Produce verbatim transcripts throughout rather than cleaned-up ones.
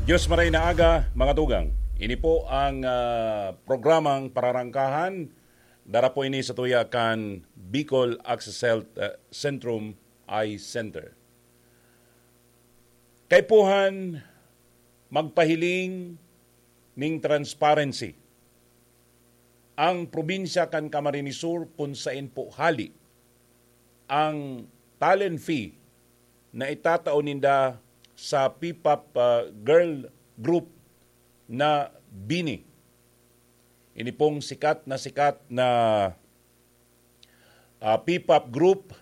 Diyos maray na aga, mga tugang. Ini po ang, ah, programang Pararangkahan. Dara po ini sa tuya kan Bicol Access Health, ah, Centrum Eye Center. Kaipuhan magpahiling ning transparency. Ang probinsya kan Camarines Sur kun sain po hali ang talent fee na itatao ninda sa P-pop, ah, girl group na BINI. Ini pong sikat na sikat na, ah, P-pop group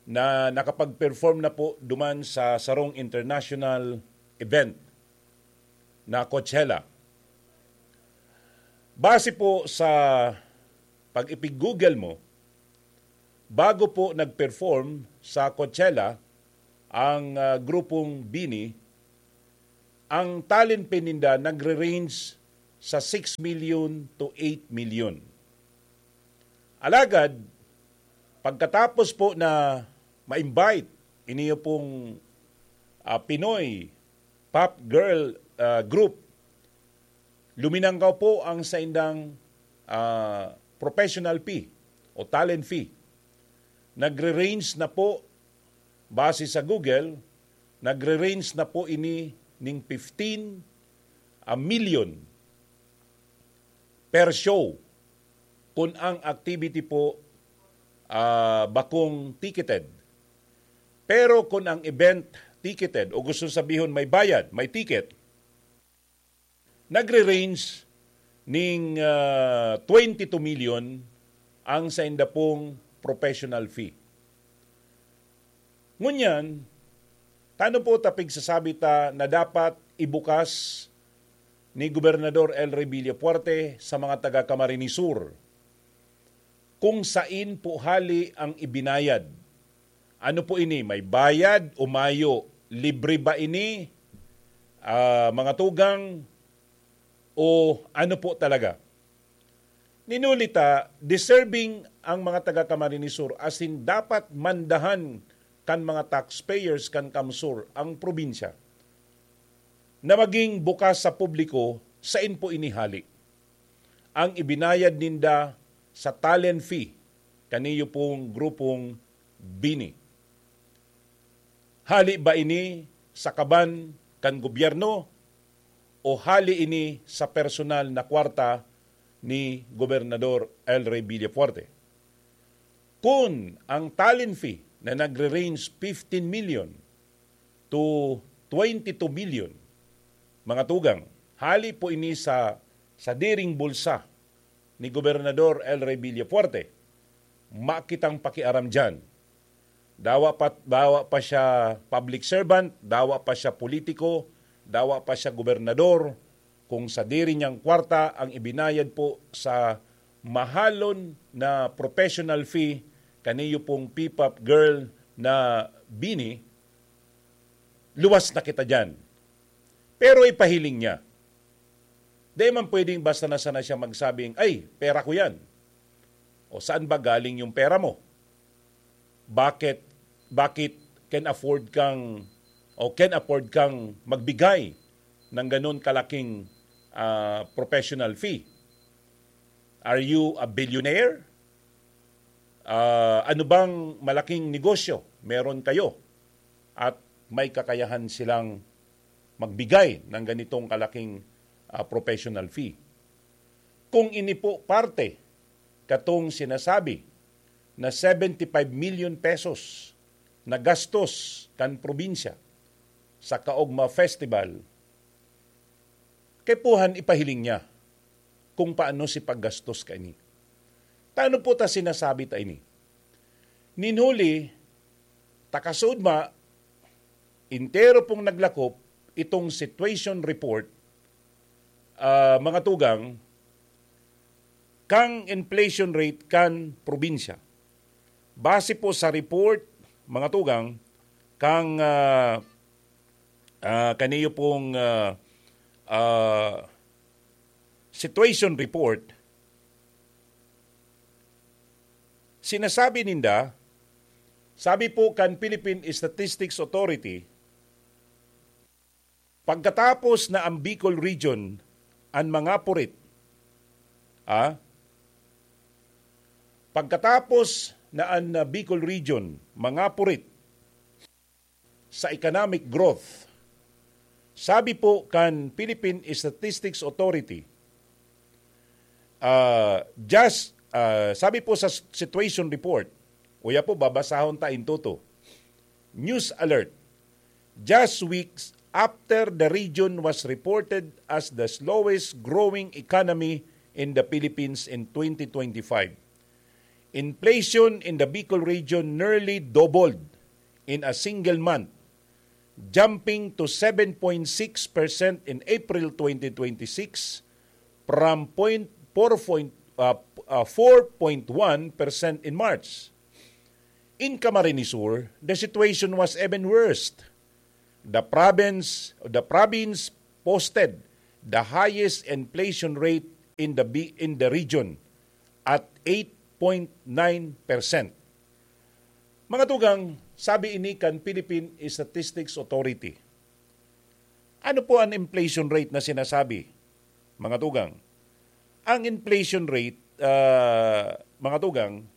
na nakapag-perform na po duman sa sarong international event na Coachella. Base po sa pag-ipig-Google mo, bago po nag-perform sa Coachella ang, ah, grupong BINI, ang talent fee ninda nagre-range sa six million to eight million. Alagad, pagkatapos po na ma-invite iniyo pong, ah, Pinoy pop girl, ah, group, luminangkaw po ang saindang, ah, professional fee o talent fee. Nagre-range na po, base sa Google, nagre-range na po ini ning fifteen, ah, million per show kun ang activity po, ah, bakong ticketed. Pero kun ang event ticketed, o gusto sabihon may bayad, may ticket, nagre-range ning, ah, twenty-two million ang sainda pong professional fee. Ngunyan, tano po ta pigsasabi ta na dapat ibukas ni Gobernador El Rey Villafuerte sa mga taga Camarines Sur kung sain po hali ang ibinayad. Ano po ini? May bayad o mayo? Libre ba ini, ah, mga tugang? O ano po talaga? Ninuli ta, deserving ang mga taga Camarines Sur, asin dapat mandahan kan mga taxpayers kan CamSur ang probinsya na maging bukas sa publiko sain po ini hali. Ang ibinayad ninda sa talent fee kaniyo pong grupong BINI. Hali ba ini sa kaban kan gobyerno o hali ini sa personal na kwarta ni Gobernador El Rey Villafuerte? Kun ang talent fee na nagre-range fifteen million to twenty-two million, mga tugang, hali po ini sa sadiring bulsa ni Gobernador El Rey Villafuerte, makitang pakiaram diyan. Dawa pa, dawa pa siya public servant, dawa pa siya politiko, dawa pa siya gobernador, kung sadiri niyang kwarta ang ibinayad po sa mahalon na professional fee kaniyo pong P-pop girl na BINI, luwas na kita diyan. Pero ipahiling niya. Di man pwedeng basta na sana siya magsabing, "Ay, pera ko yan." O saan ba galing yung pera mo? Bakit, bakit can afford kang, o can afford kang magbigay ng ganun kalaking, ah, professional fee? Are you a billionaire? Ah, ano bang malaking negosyo meron kayo at may kakayahan silang magbigay ng ganitong kalaking, ah, professional fee? Kung ini po parte katong sinasabi na seventy-five million pesos na gastos kan probinsya sa Kaogma Festival, kaipuhan ipahiling niya kung paano si paggastos kaini. Tano po ta sinasabi ta ini? Nin huli, takasud ma, entero pong naglakop itong situation report, ah, mga tugang, kang inflation rate kan probinsya. Base po sa report, mga tugang, kang, ah, ah, kaniyo pong, ah, ah, situation report, sinasabi ninda, sabi po kan Philippine Statistics Authority, Pagkatapos na ang Bicol Region an mangapurit, ah, pagkatapos na an, ah, Bicol Region mangapurit sa economic growth, sabi po kan Philippine Statistics Authority, ah, just, ah, sabi po sa situation report, uya po, babasahon ta in toto. News alert. Just weeks after the region was reported as the slowest growing economy in the Philippines in twenty twenty-five, inflation in the Bicol region nearly doubled in a single month, jumping to seven point six percent in April twenty twenty-six from point four point, uh, uh, four point one percent in March. In Camarines Sur, the situation was even worse. The province, the province posted the highest inflation rate in the bi-, in the region at eight point nine percent. Mga tugang, sabi ini kan Philippine Statistics Authority. Ano po ang inflation rate na sinasabi, mga tugang? Ang inflation rate, ah, mga tugang,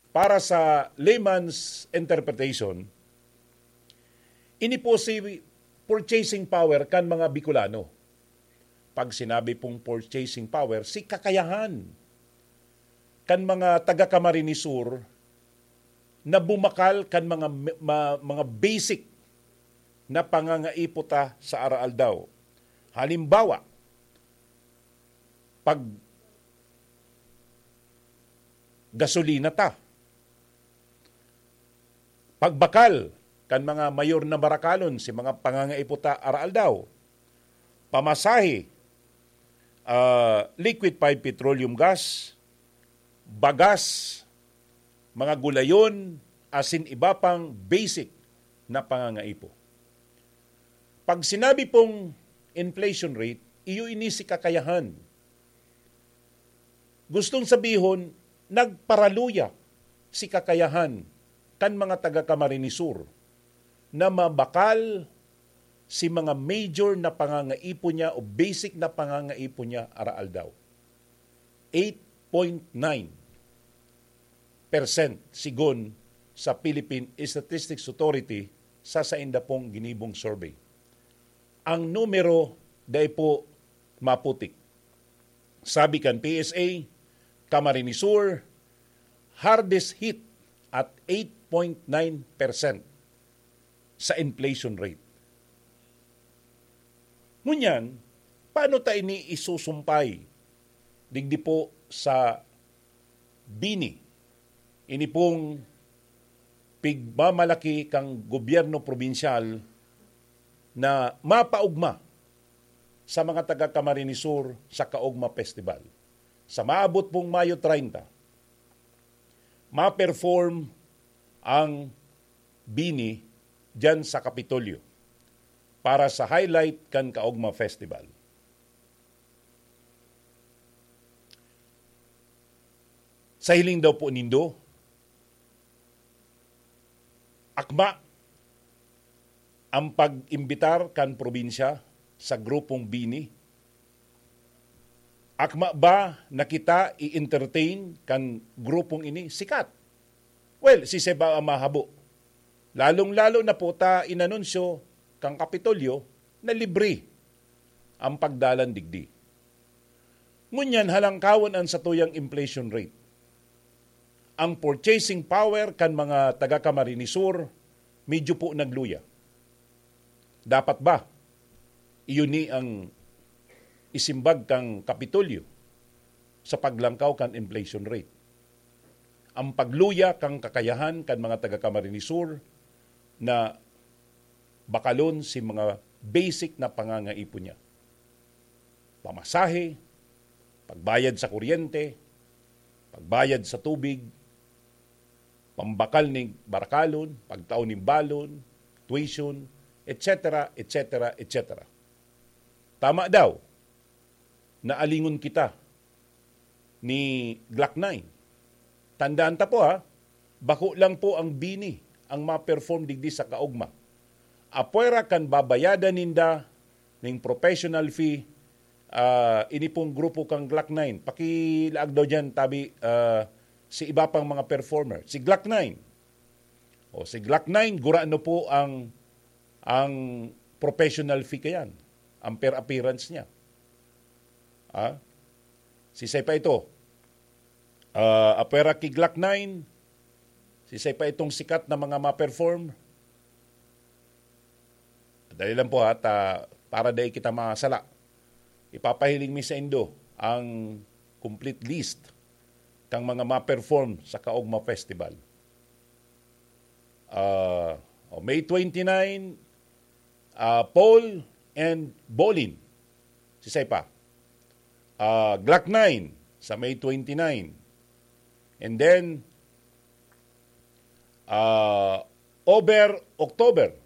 para sa layman's interpretation, ini po si purchasing power kan mga Bicolano. Pag sinabi pong purchasing power, si kakayahan kan mga taga Camarines Sur na bumakal kan mga me-, ma-, mga basic na pangangaipo ta sa araaldaw. Halimbawa, pag gasolina ta, pagbakal kan mga mayor na barakalon si mga pangangaipo ta araaldaw, pamasahe, ah, liquefied petroleum gas, bagas, mga gulayon, asin iba pang basic na pangangaipo. Pag sinabi pong inflation rate, iyo ini si kakayahan. Gustong sabihon, nagparaluya si kakayahan kan mga taga Camarines Sur na mabakal si mga major na pangangaipo niya o basic na pangangaipo niya araaldaw. Eight point nine percent sigon sa Philippine Statistics Authority sa sainda pong ginibong survey. Ang numero dai po maputik. Sabi kan P S A, Camarines Sur, hardest hit at eight point nine percent sa inflation rate. Ngunyan, paano ta ini isusumpay digdi po sa BINI? Ini pong pigmamalaki kang gobyerno probinsyal na mapaogma sa mga taga Camarines Sur sa Kaogma Festival. Sa maabot pong Mayo treinta, ma-perform ang BINI diyan sa Kapitolyo para sa highlight kan Kaogma Festival. Sa hiling daw po nindo, akma ang pag-imbitar kan probinsya sa grupong BINI? Akma ba na kita i-entertain kan grupong ini? Sikat. Well, si Seba ang mahabo. Lalong-lalo na po ta inanunsyo kan Kapitolyo na libre ang pagdalan digdi. Ngunyan, halangkawon an satuyang inflation rate. Ang purchasing power kan mga taga Camarines Sur medyo po nagluya. Dapat ba? Iyon ni ang isimbag kan Kapitolyo sa paglangkaw kan inflation rate. Ang pagluya kan kakayahan kan mga taga Camarines Sur na bakalon si mga basic na pangangaipo niya. Pamasahe, pagbayad sa kuryente, pagbayad sa tubig, pambakal nin barakalon, pagtao nin balon, tuition, et cetera, et cetera, et cetera. Tama daw na alingon kita ni Glock nine. Tandaan ta po, ha, bako lang po ang BINI ang ma-perform digdi sa Kaogma. Apwera kan babayadan ninda ning professional fee, ah, ini pong grupo kan Glock nine. Pakilaag daw diyan, tabi, ah, si iba pang mga performer. Si Glock nine. O, si Glock nine, gurano po ang, ang professional fee kayan, ang per appearance niya. Ah? Sisay pa ito? Ah, apwera ki Glock nine, sisay pa itong sikat na mga ma-perform? Dali lang po ha, ta, para dai kita masala. Ipapahiling mi saindo ang complete list kan mga ma-perform sa Kaogma Festival. Ah, o, May twenty-nine, ah, Paul and Bolin. Sisay pa? Ah, Glock nine sa May twenty-nine. And then, ah, over October.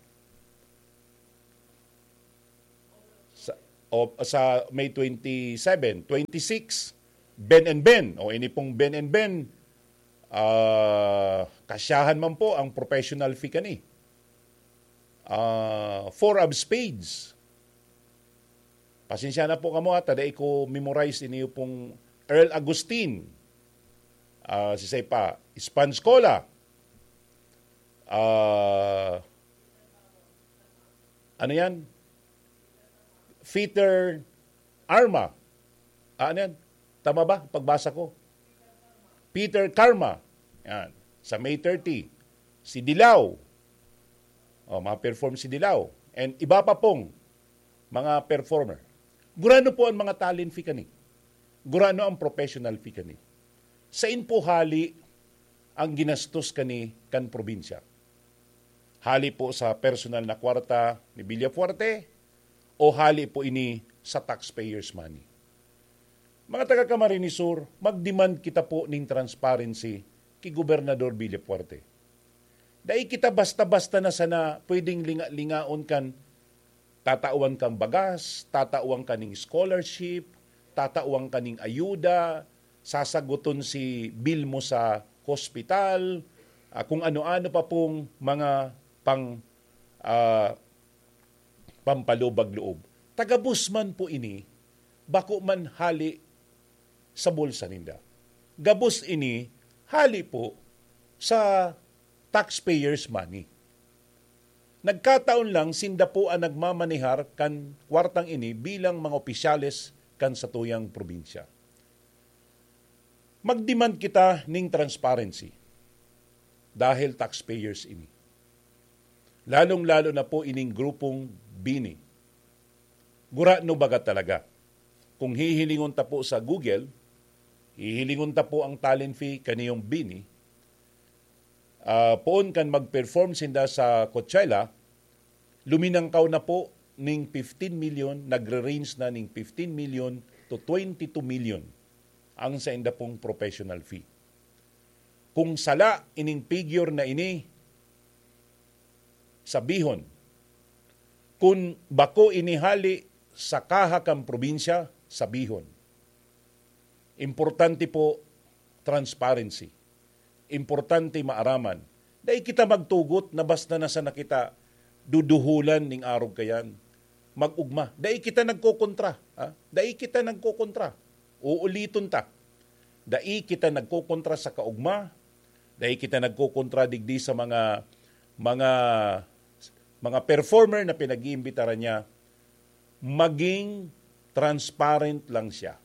Sa, o, sa May twenty-seven, twenty-six, Ben and Ben. O, ini pong Ben and Ben, ah, kasyahan man po ang professional fee kani. Ah, Four of Spades. Pasensya na po kamo, ha, ta dai ko memorize ini pong Earl Agustin. Ah, sisay pa, Sponge Cola. Ah, ano yan? Peter Arma. Ah, ano yan? Tama ba pagbasa ko? Peter Karma. Yan. Sa May thirty. Si Dilaw. O, ma-perform si Dilaw. And iba pa pong mga performer. Gurano po ang mga talent fee kani? Gurano ang professional fee kani? Sain po hali ang ginastos kani kan probinsya? Hali po sa personal na kwarta ni Villafuerte o hali po ini sa taxpayers' money? Mga taga Camarines Sur, mag-demand kita po ning transparency ki Gobernador Villafuerte. Dai kita basta-basta na sana pwedeng linga-lingaon kan tatawan kang bagas, tatawan ka ning scholarship, tatawan ka ning ayuda, sasaguton si bill mo sa hospital, ah, kung ano-ano pa pong mga pang, ah, pampalubag loob. Tagabos man po ini, bako man hali sa bulsa ninda. Gabos ini hali po sa taxpayers' money. Nagkataon lang, sinda po ang nagmamanehar kan kwartang ini bilang mga opisyales kan satuyang probinsya. Mag-demand kita ning transparency dahil taxpayers ini. Lalong-lalo na po ining grupong BINI. Gurano baga talaga? Kung hihilingon ta po sa Google, hihilingon ta po ang talent fee kaniyong BINI, ah, poon kan mag-perform sinda sa Coachella, luminangkaw na po ning fifteen million, nagre-range na ning fifteen million to twenty-two million ang sainda pong professional fee. Kung sala ining figure na ini, sabihon, kun bako ini hali sa kaha kan probinsya, sabihon. Importante po, transparency. Importante maaraman. Dai kita magtugot na basta na sana kita duduhulan ning arog kayan. Mag-ugma. Dai kita nagkokontra, ha? Dai kita nagkokontra. Uuliton ta. Dai kita nagkokontra sa kaugma. Dai kita nagkokontra digdi sa mga, mga, mga performer na pinag-iimbitaran niya. Maging transparent lang siya,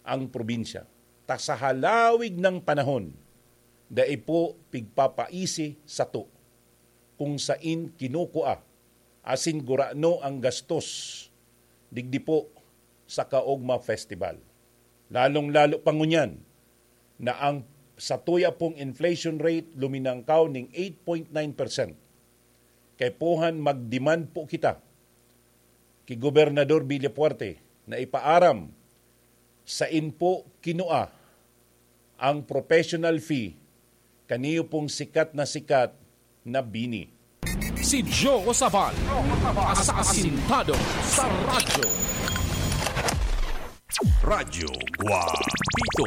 ang probinsya. Ta sa halawig ng panahon, dai po pigpapaisi sato kung sain kinukua asin gurano ang gastos digdi po sa Kaogma Festival. Lalong-lalo pa ngunyan na ang satuya pong inflation rate luminangkaw ning eight point nine percent. Kaipuhan mag-demand po kita ki Gobernador Villafuerte na ipaaram sain po kinua ang professional fee kaniyo pong sikat na sikat na BINI. Si Joe Sabal, asasintado sa radyo. Radyo Guapito.